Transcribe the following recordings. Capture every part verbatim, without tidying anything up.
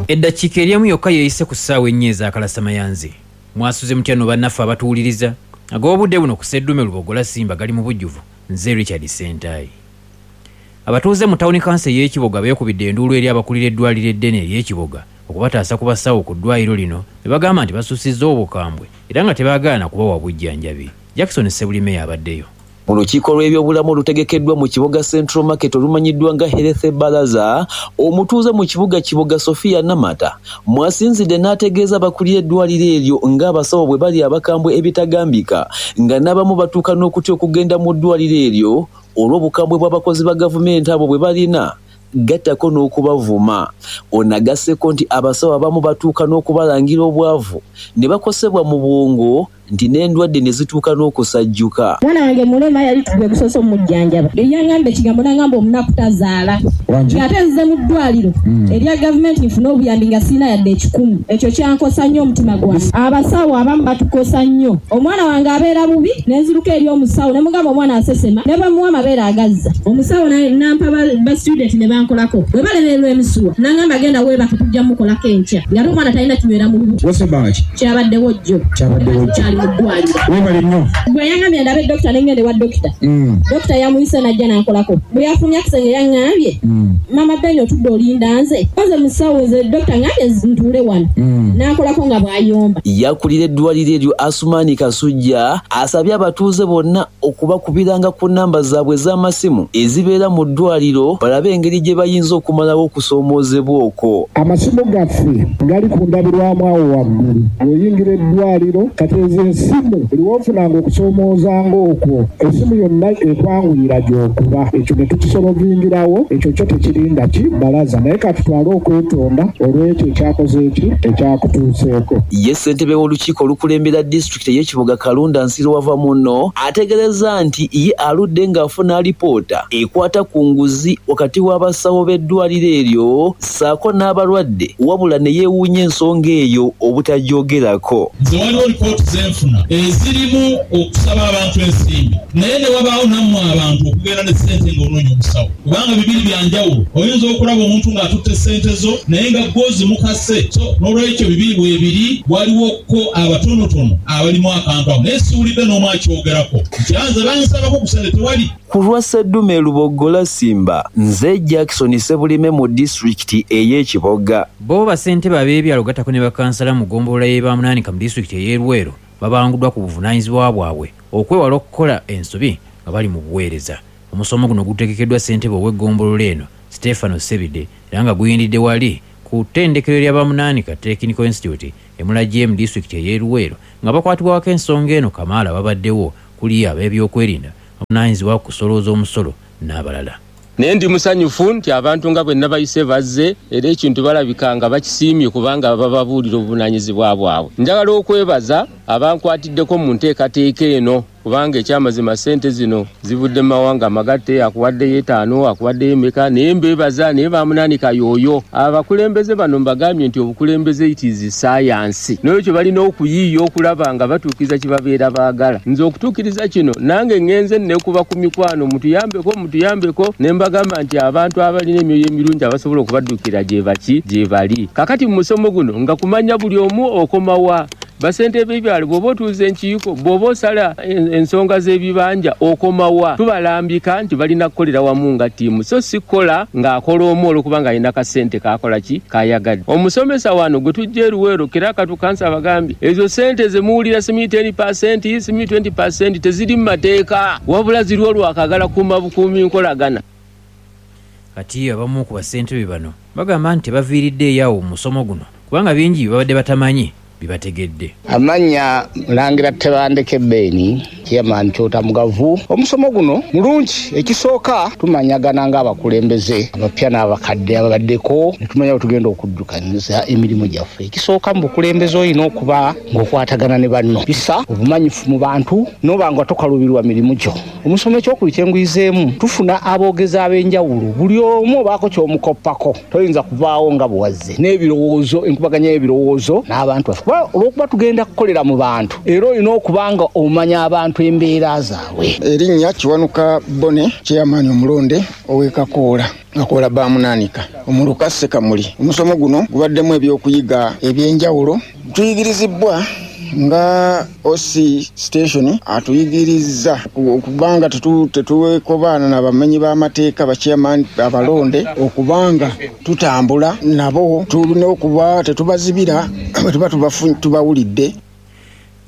Eddakiika eryamu yokka yeeyise ku ssaawa ennya ez'akalasamayanzi. Mwasuze mutya no bannaffe abatuwuliriza? Ag'obudde buno ku Sseddume Lubogola Simba gali mu bujjuvu. Nze Richard Sentayi. Abatuuze mu tawuni kanso ey'Ekiboga beekubidde enduulu eri abakulira eddwaliro eddene ery'Ekiboga okubataasa ku basawo ku ddwaliro lino ne bagamba nti basusizza obukambwe era nga tebaagaana kubawa bujjanjabi. Jackson Ssebulime abaddeyo. Mu lukiiko lw'ebyobulamu olutegekeddwa mu Kiboga Central Market olumanyiddwa nga Health Baraza, omutuuze mu kibuga Kiboga Sophia Namata mwasinzidde n'ategeeza abakulira eddwaliro eryo ng'abasawo bwe bali abakambwe ebitagambika, nga n'abamu batuuka n'okutya okugenda mu ddwaliro eryo olw'obukambwe bw'abakozi ba gavumenti abo bwe balina, gattako n'okubavuma. Ono agasseeko nti abasawo abamu batuuka n'okubalangira obwavu ne bakosebwa mu bwongo nti n'endwadde ne zituuka n'okusajjuka. Mwana wange mulema yali gwe gusoose omujjanjaba. Yaŋŋamba ekigambo n'aŋŋamba omunaku tazaala. Ate nzize mu ddwaliro erya gavumenti nfune obuyambi nga sirina yadde ekikumi. Ekyo kyankosa nnyo omutima gwange. Abasawo abamu batukosa nnyo. Omwana wange abeera bubi ne nziruka eri omusawo ne mugamba omwana asesema ne bamuwa amabeere agazza. Omusawo n'ampa ba student ne bankolako. Bwe balemererwa emisuwa n'aŋŋamba genda weebake tujja mukolako enkya. Ng'ate omwana talina kinywera mu lubuto. Kyabaddewo jjo. Kyabaddewo jjo. Webale nnyo. Bwe yaŋŋambye ndabe dokita ne ŋŋenda ewa dokita. Dokita yamuyise n'ajja n'ankolako. Bwe yafumya akisenge yaŋŋambye, Mama Ben otudde olinda nze. Nze musawo nze dokita ŋŋambye ntuule wano. N'ankolako nga bw'ayomba. Yakulira eddwaliro eryo Asumani Kasujja asabye abatuuze bonna okubakubiranga ku nnamba zaabwe ez'amasimu ezibeera mu ddwaliro balabe engeri gye bayinza okumalawo okusoomoozebwa okwo. Amasimu gaffe gali ku ndabirwamu awo waggulu. Bw'oyingira eddwaliro kati ezo essimu buli w'ofunanga okusoomoozanga okwo essimu yonna ekwanguyira gy'okuba. Ekyo ne tukisolovingirawo, ekyo kyo tekirinda ki balaza, naye katutwale okwetonda olw'ekyo ekyakoze eki ekyakutuuseeko. Ye ssentebe w'olukiiko olukulembera disitulikiti ey'Ekiboga Kalunda Nsiro wava munno ategeeza nti ye aludde ng'afuna alipoota ekwata ku nguzi wakati w'abasawo b'eddwaliro eryo ssaako n'abalwadde, wabula ne yeewuunya ensonga eyo obutajoogerako. Nze waliwo lipooti zenfuna ezirimu okusaba abantu ensimbi, naye ne wabaawo nammwe abantu okugenda ne ssente ng'onoonya omusawo, kubanga bibiri bya njawulo. Oyinza okulaba omuntu ng'atutte ssente zo naye nga gwozi mukase. So n'olwekyo bibiri bwebiri, waliwoko abatonotono abalimu akantu ako, naye siwulidde n'omu akyogerako nti anze bansabako ku ssente tewali. Ku lwa Sseddume Lubogola Simba, nze Jackson Ssebulime mu disitulikiti ey'Ekiboga. Bo bassentebe ab'ebyalo gattako ne bakansala mu ggombolola y'e Baamunaanika mu disitulikiti ey'e Luweero babanguddwa ku buvunaanyizibwa bwabwe okwewala okukola ensobi nga bali mu buweereza. Omusomo guno gutegekeddwa ssentebe ow'eggombolola eno Stefano Sebide era nga guyindidde wali ku ttendekero lya Baamunaanika Technical Institute e Mulajje mu disitulikiti ey'e Luweero nga bakwatibwako ensonga eno Kamaala babaddewo kuli ab'ebyokwerinda abavunaanyizibwa ku kusolooza omusolo n'abalala. Naye ndi musanyufu nti abantu nga bwe nabayise bazze era ekintu balabika nga bakisiimye kubanga bababuulira obuvunaanyizibwa bwabwe. Njagala okwebaza abankwatiddeko mu nteekateeka eno kubanga ekyamazima ssente zino zivudde mu mawanga amagatte, akuwaddeyo etaano, akuwaddeyo emeka, naye mbeebaza naye Baamunaanika yooyo. Abakulembeze bano mbagambye nti obukulembeze it is science, n'ekyo balina okuyiiya okulaba nga batuukiriza kye babeera baagala. Nze okutuukiriza kino nange ŋŋenze nekuba ku mikwano, mutuyambeko mutuyambeko, ne mbagamba nti abantu abalina emyoyo emirungi abasobola okubadduukira gye baki gye bali. Kakati mu musomo guno nga kumanya buli omu okomawa. Basente b'ebyalo bw'oba otuuza enkiiko, bw'oba osala ensonga z'ebibanja okomawa. Tubalambika nti balina kukolera wamu nga ttiimu, so si kukola ng'akola omu olw'okuba ng'alina kasente k'akola ki k'ayagadde. Omusomesa wano gwe tujja e Luweero kera katukansa abagambye ezo ssente ze muwulira simanyi ten percent simanyi twenty percent teziri mu mateeka, wabula ziriwo lwakagala kuuma bukuumi nkolagana. Kati abamu ku bassentebe bano bagamba nti tebaviiridde eyo mu musomo guno kubanga bingi bye babadde batamanyi bibategedde. Amannya Mulangira Tebandeke Beni, Chairman Kyota Mugavu. Omusomo guno mulungi. Ekisooka tumanyagana ng'abakulembeze abapya n'abakadde ababaddeko ne tumanya bwe tugenda okuddukanyiza emirimu gyaffe. Ekisooka mu bukulembeze olina okuba ng'okwatagana ne banno, bisa obumanyifu mu bantu n'oba nga tokaluubirwa mirimu gyo. Omusomo ekyokubiri kye nguyizeemu, tufuna aboogezi ab'enjawulo, buli omu obaako ky'omukoppako, toyinza kuvaawo nga bw'owazze n'ebirowoozo, enkubaganya y'ebirowoozo n'abantu baffe. Kuba olw'okuba tugenda kukolera mu bantu, era olina okuba nga omanya abantu abantu embeera zaabwe. Erinnya Kiwanuka Bone, chairman omulonde ow'e Kakoola, Kakoola Bamunaanika, omuluka Ssekamuli. Omusomo guno gubaddemu ebyokuyiga ebyenjawulo. Tuyigirizibwa nga O C station atuyigiriza okubanga tetuwekobaana n'abamenyi b'amateeka ba chairman abalonde, okubanga tutambula nabo, tulina okuba tetubazibira bwe tuba tubawulidde.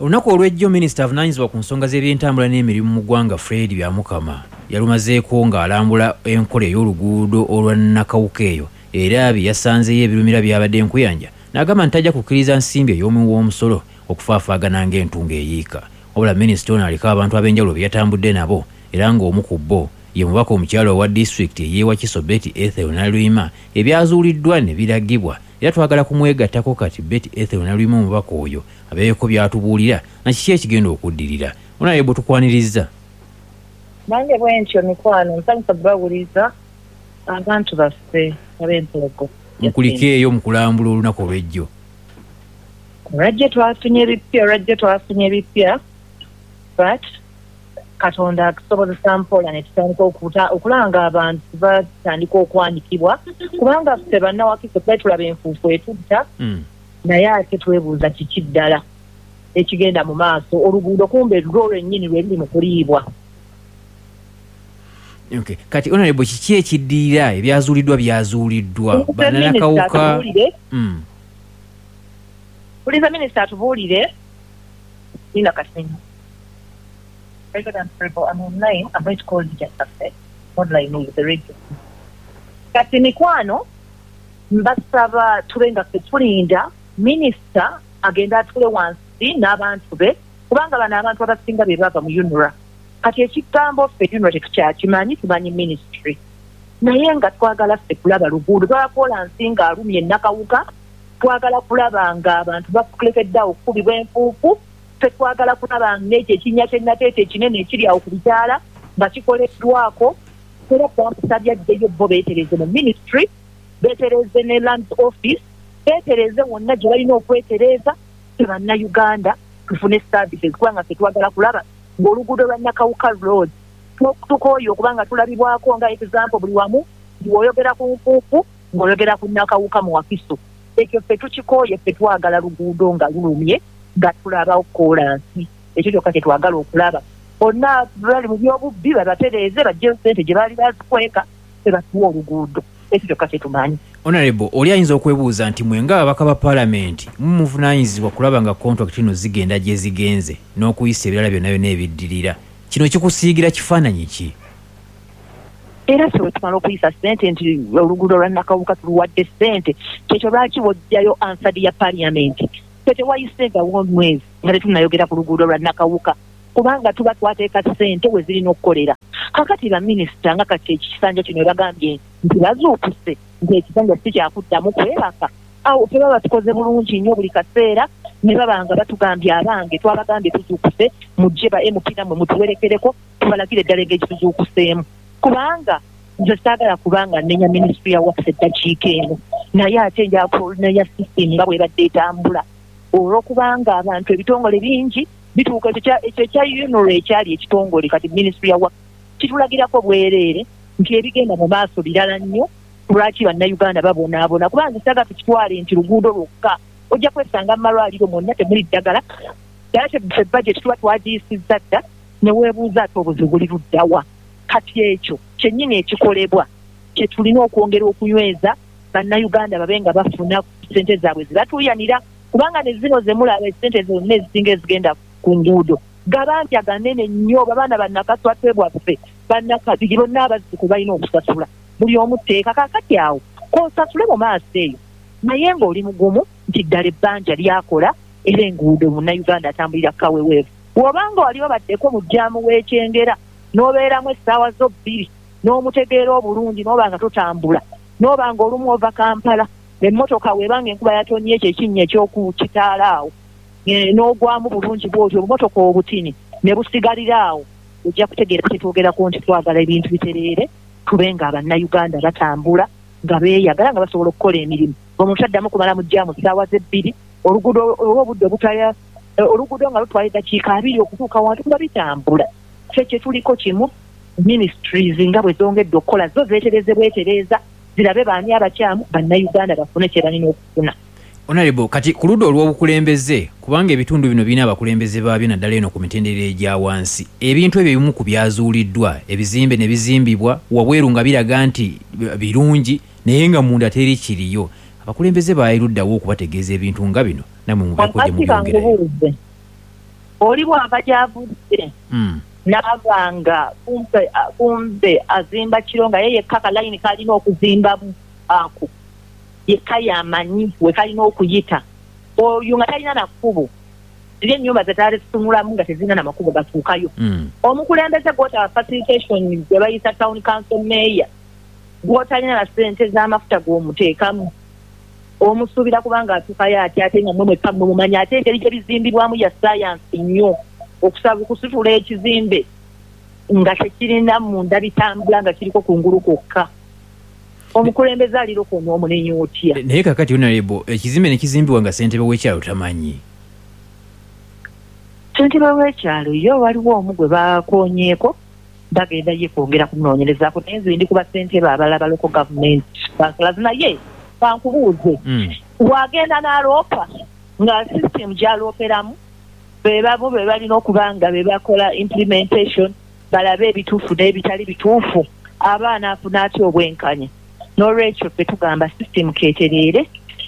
Olunaku olw'ejjo minisita avunaanyizibwa ku nsonga z'ebyentambula n'emirimu mu ggwanga Fred Byamukama yalumazeeko ng'alambula enkola ey'oluguudo olwa Nakawuka eyo, era bye yasanzeyo ebirumira byabadde enkuyanja, n'agamba nti tajja kukkiriza nsimbi ey'omuwi w'omusolo okufaafaagana ng'entungo eyiika. Wabula minisita ono aliko abantu ab'enjawulo be yatambudde nabo, era ng'omu ku bo ye mubaka omukyala owa disitulikiti ey'e Wakiso Betty Ethel Naluyima, ebyazuuliddwa ne biragibwa era twagala kumwegattako kati Betty Ethel Naluyima omubaka oyo abeeko by'atubuulira na kiki ekigenda okuddirira. Onaye bwe tukwaniriza. Nange bwe ntyo mikwano, nsanyusa kubawuliza abantu baffe ab'Empulogo. Mukulike eyo mu kulambula olunaku olw'ejjo. Olwajjo twafunye ebipya, olwajjo twafunye ebipya, but Katonda atusobozesa mpola ne tutandika okulanga abantu batandika okwanikibwa, kubanga ffe bannawakiso twali tulaba enfuufu etutta, naye ate twebuuza kiki ddala ekigenda mu maaso. Oluguudo kumbe lwo lwennyini lwe luli mu kuliibwa. Okay. Kati honorable, kiki ekiddirira? Ebyazuuliddwa byazuuliddwa bannakawuka. Puliza minisita atubuulire. Nina Kasinga. I'm online. I'm going to call you just after. Online with the radio. Kati mikwano, mbasaba tube nga ffe tulinda minisita agenda atule wansi n'abantu be, kubanga bano abantu abasinga be bava mu UNRA. Kati ekigambo ffe UNRA tetukyakimanyi, tumanyi ministry. Naye nga twagala ffe kulaba luguudo, twagala kolansi ng'alumye Nakawuka, twagala kulaba nga abantu bakulekedde awo okukubibwa enfuufu, ffe twagala kulaba ng'ekyo ekinnya ky'ennateete ekinene ekiri awo ku bikyala nga kikoleddwako. Era twamusabye addeyo bo beetereze mu ministry, beetereze ne land office, beetereze wonna gye balina okwetereza, ffe bannayuganda tufune services, kubanga ffe twagala kulaba ng'oluguudo lwa Nakawuka Road tukooye okubanga tulabibwako nga example buli wamu ng'oyogera ku nfuufu, ng'oyogera ku Nakawuka mu Wakiso. Ekyo ffe tukikooye, ffe twagala luguudo nga lulumye nga tulaba kolansi. Ekyo kyokka kye twagala okulaba. Bonna bali mu by'obubbi babatereeze, baggyeyo ssente gye baali bazikweka, ffe batuwe oluguudo. Ekyo kyokka kye tumanyi. Honorable, oli ayinza okwebuuza nti mwe ng'ababaka ba paalamenti mumuvunaanyizibwa kulaba nga contract ino zigenda gye zigenze n'okuyisa ebirala byonna byonna ebiddirira. Kino kikusiigira kifaananyi ki? Era ffe bwe tumala okuyisa ssente nti oluguudo lwa Nakawuka tuluwadde ssente, kyekyo lwaki w'oggyayo ansadi ya paalamenti? Ffe tewayisengawo omwezi nga tetunnayogera ku luguudo lwa Nakawuka, kubanga tuba twateeka ssente we zirina okukolera. Kakati baminisita nga kati ekisanja kino bagambye nti bazuukuse nti ekisanja si kyakuddamu kwebaka, awo ffe baba tukoze bulungi nnyo buli kaseera ne baba nga batugambye abange twabagambye tuzuukuse, mujje ba M P nammwe mutuwerekereko tubalagire eddala engeri tuzuukuseemu. Kubanga nze saagala kubanga nnenya minisitule ya Works eddakiika eno, naye ate njakunenya system nga bw'ebadde etambula, olw'okubanga abantu ebitongole bingi bituuka ekyo ekya UNRA ekyali ekitongole kati minisitule ya Works kitulagirako bwereere nti ebigenda mu maaso birala nnyo. Lwaki bannayuganda babonaabona? Kubanga nsaga tukitwale nti luguudo lwokka, ojja kwesanga mu malwaliro mwonna temuli ddagala, ddala ffe budget tuba twagiyisizza dda, ne weebuuza ate obuzibu buli ludda wa. Kati ekyo kyennyini ekikolebwa kye tulina okwongera okunyweza bannayuganda babe nga bafuna ssente zaabwe zibatuuyanira, kubanga ne zino ze mulaba essente zonna ezisinga ezigenda ku nguudo gabanja ganene nnyo, babaana bannakaswatwe bwaffe bannakabiri bonna abazzukulu balina okusasula buli omu tteeka. Kaakati awo k'osasule mu maaso eyo, naye ng'oli mugumu nti ddala ebbanja lyakola era enguudo munnayuganda atambulira kaweweevu. Bw'obanga wali obaddeko mu jjaamu w'ekyengera n'obeeramu essaawa zo bbiri n'omutegeera obulungi n'oba nga totambula, n'oba nga olumu ova Kampala emmotoka weebanga enkuba yatonye ekyo ekinnya eky'okukitaala awo n'ogwamu bulungi bw'otyo obumotoka obutini ne busigalira awo, ojja kutegeera kyetwogerako nti twagala ebintu bitereere, tube nga abannayuganda batambula nga beeyagala nga basobola okukola emirimu. Omuntu addamu kumala mu jjaamu ssaawa ze bbiri, oluguudo olw'obudde obutaya Oluguudo nga lutwala eddakiika abiri okutuuka wantu nga bitambula. Ffe kye tuliko kimu, ministries nga bwe zongedde okukola zo zeetereze bwetereeza, zirabe baani abakyamu, bannayuganda bafune kye balina okufuna. Honorable, kati ku ludda olw'obukulembeze, kubanga ebitundu bino birina abakulembeze baabyo naddala eno ku mitendera egya wansi, ebintu ebyo ebimu ku byazuuliddwa, ebizimbe ne bizimbibwa wabweru nga biraga nti birungi naye nga munda teri kiriyo, abakulembeze baaliruddawo okubategeeza ebintu nga bino nammwe mubeeko gye mubyongerayo? Oli bw'ava gy'avudde n'aba nga kumbe, kumbe azimba kiro nga ye yekka kalayini kalina okuzimbamu ako yekka yamanyi we kalina okuyita, oyo nga talina na kkubo, ziri ennyumba ze taalitunulamu nga tezirina na makubo gatuukayo. Omukulembeze gw'otaba facilitation gwe bayita town council mayor, gw'otalina na ssente z'amafuta gw'omuteekamu, omusuubira kubanga atuukayo atya ate nga mmwe mwekka mmwe mumanyi, ate engeri gye bizimbibwamu ya science nnyo, okusaba okusitula ekizimbe nga tekirina munda bitambula nga kiriko kungulu kwokka. Omukulembeze aliroko n'omunenya otya? Naye kakati Honorable, ekizimbe ne kizimbibwa nga ssentebe w'ekyalo tamanyi. Ssentebe w'ekyalo ye waliwo omu gwe bakoonyeeko, bagenda ye kwongera kumunoonyerezaako, naye nze ndi ku bassentebe abalala ba local government councillors, naye bankubuuze wagenda n'aloopa nga system gy'alooperamu be bamu be balina okuba nga be bakola implementation, balabe ebituufu n'ebitali bituufu, abaana afuna atya obwenkanya. N'olwekyo ffe tugamba system keetereere,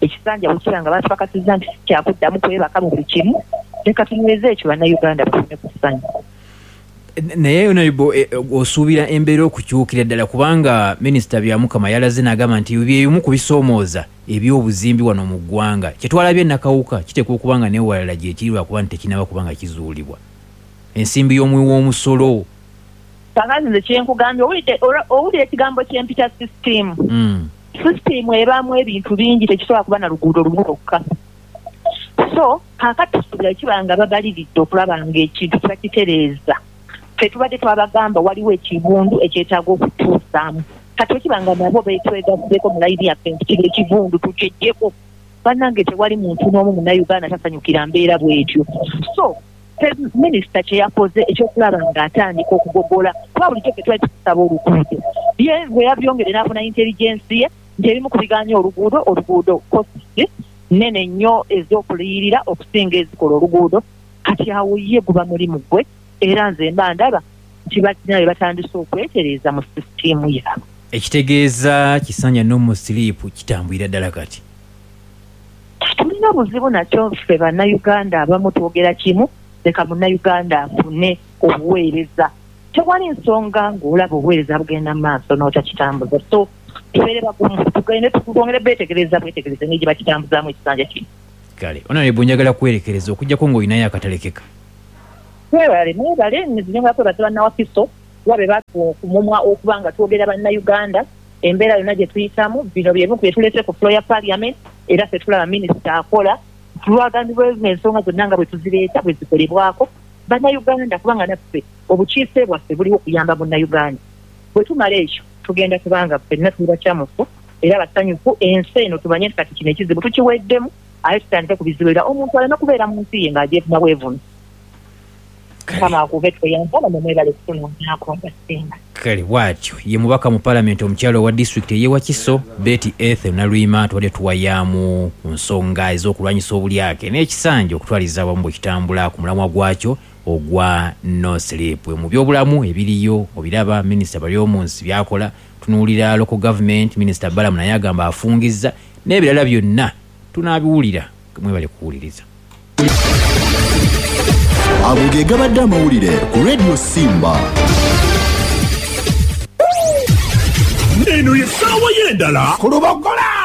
ekisanja bwe kiba nga batupakasizza nti sikyakuddamu kwebaka mu buli kimu, leka tunyweze ekyo bannayuganda bafune ku ssanyu. Naye Honorable, osuubira embeera okukyukira ddala, kubanga Minisita Byamukama yalaze n'agamba nti bye bimu ku bisoomooza eby'obuzimbi wano mu ggwanga. Kye twalabye Nakawuka kiteekwa okuba nga n'ewalala gye kiri lwakuba nti tekinnaba kuba nga kizuulibwa. Ensimbi y'omuwi w'omusolo. Kakati nze kye nkugambye, owulira ekigambo kye mpita system. System ebaamu ebintu bingi, tekisobola kuba na luguudo lumu lwokka. So kaakati tusuubira kiba nga babaliridde okulaba ng'ekintu kiba kitereeza. Ffe tubadde twabagamba waliwo ekivundu ekyetaaga okutuusaamu. Kati bwe kiba nga nabo beetwegasseeko mu layini yaffe nti kino ekivundu tukyeggyeko, bannange tewali muntu n'omu munnayuganda tasanyukira mbeera bw'etyo. So minisita kye yakoze ekyokulaba ng'atandika okugogola, kuba bulijjo ffe twali tukusaba oluguudo, ye bwe yabyongedde n'afuna intelligence ye nti ebimu ku bigaanya oluguudo, oluguudo costs nnene nnyo ez'okuliyirira okusinga ezikola oluguudo. Kati awo ye guba mulimu gwe, era nze mba ndaba nti balina bye batandise okwetereeza mu sisitiimu yaabwe. Ekitegeeza kisanja no sleep kitambulira ddala kati. Tulina obuzibu nakyo ffe bannayuganda abamu twogera kimu, leka munnayuganda afune obuweereza. Tewali nsonga ng'olaba obuweereza bugenda mu maaso n'otakitambuza. So tubeere bagumu, tugende twongere beetegereza bwetegereza engeri gye bakitambuzaamu ekisanja kino. Kale Honorable, njagala kwerekereza okuggyako ng'olinayo akatalekeka. Mwebale, mwebale, nzinyonga kwebaza bannawakiso kuba be batuwa okumumwa okuba nga twogera bannayuganda embeera yonna gye tuyitamu. Bino bye bimu ku bye tuleese ku floor ya parliament, era ffe tulaba minisita akola tulwagambibwa ensonga zonna nga bwe tuzireeta bwe zikolebwako bannayuganda, kubanga naffe obukiise bwaffe buliwo okuyamba munnayuganda. Bwe tumala ekyo tugenda kubanga ffenna tuli bakyamufu era basanyufu, ensi eno tumanye nti kati kino ekizibu tukiweddemu, ate tutandike ku bizibu era omuntu aleme kubeera mu nsi ye ng'agyevuna bwevuna. Mukama akuve tweyamba namwe mwebale kutunoonyaako mbasinga. Kale bw'atyo ye mubaka mu paalamenti omukyala owa disitulikiti ey'e Wakiso Betty Ethel Naluyima, tubadde tuwayaamu ku nsonga ez'okulwanyisa obulyake n'ekisanja okutwaliza awamu bwe kitambula ku mulamwa gwakyo ogwa no sleep. Mu byobulamu ebiriyo obiraba, minisita Baryomunsi by'akola, tunuulira local government, minisita Balamu naye agamba afungizza n'ebirala byonna tunaabiwulira. Mwebale kuwuliriza. Ago ge gabadde amawulire ku Radio Simba. Eno ye ssaawa y'endala ku Lubogola.